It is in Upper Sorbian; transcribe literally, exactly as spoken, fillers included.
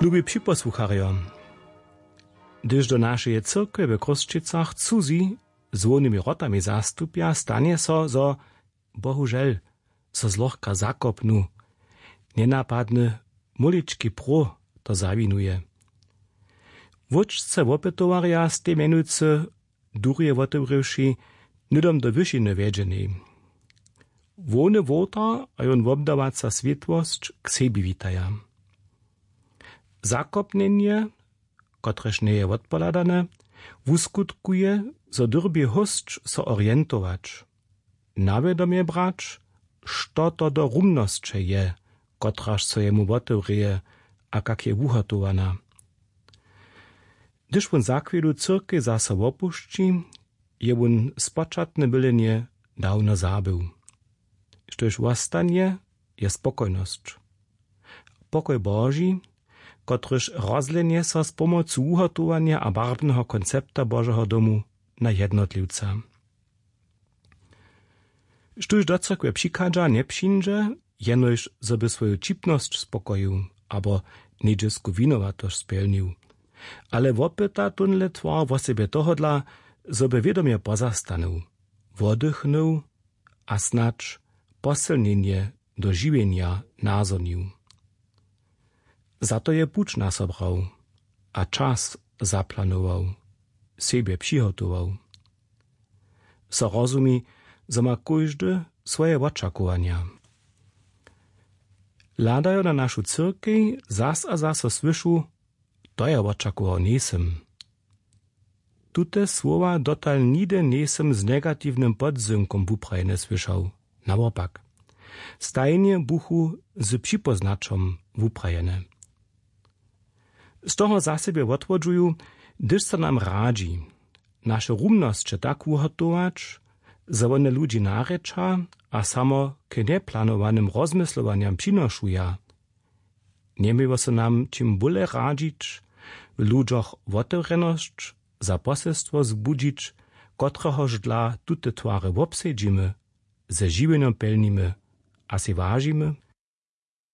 Lubi připosłucharjo, hdyž do našeje cyrkwje w Chrósćicach cuzi z hłownymi wrotami zastupja, stanje so, zo bohužel so zlochka zakopnu, njenapadny, mólički próh to zawinuje. Wóčce wopytowarja stej mjenujcy durje wotewrěwši, hnydom do wyšiny wjedźenej. Hłowny wowtar a jón wobdawaca swětłosć k sebi witaja. Zakopnjenje, kotrež njeje wotpohladane, wuskutkuje, zo dyrbi hósć so orientować, na wědomje brać, što to do rumnosće je, kotraž so jemu wotewrěje a kak je wuhotowana. Hdyž wón za chwjelu cyrkej zaso wopušći, je wón spočatne mylenje dawno zabył. Štož wostanje, je spokojnosć. Pokoj Boži, kotryž rozljenje so z pomocu wuhotowanja a barwneho koncepta Božeho domu na jednotliwca. Štóž do cyrkwje přichadźa, njepřińdźe, jenož zo by swoju ćipnosć spokojił abo něhdźesku winowatosć spjelnił, ale wopyta tónle twar wosebje tohodla, zo by wědomje pozastanył, woddychnył a snadź posylnjenje do žiwjenja nazhonił. Za to je puć nasobrał a čas zaplanował, sebje přihotował. So rozumi, zo ma kóždy swoje wočakowanja. Hladajo na našu cyrkej, zas a zaso słyšu: „To ja wočakował njejsym.“ Tute słowa dotal nihdy njejsym z negatiwnym podzynkom wuprajene słyšał. Nawopak, stajnje buchu z připóznaćom wuprajene. Z toho za sebje wotwodźuju, hdyž so nam radźi, naše rumnosće tak wuhotować, zo wone ludźi narěča a samo k njeplanowanym rozmyslowanjam přinošuja. Njeměło so nam čim bóle radźić, w ludźoch wotewrjenosć za poselstwo zbudźić, kotrehož dla tute twary wobsedźimy, ze žiwjenjom pjelnimy a sej wažimy?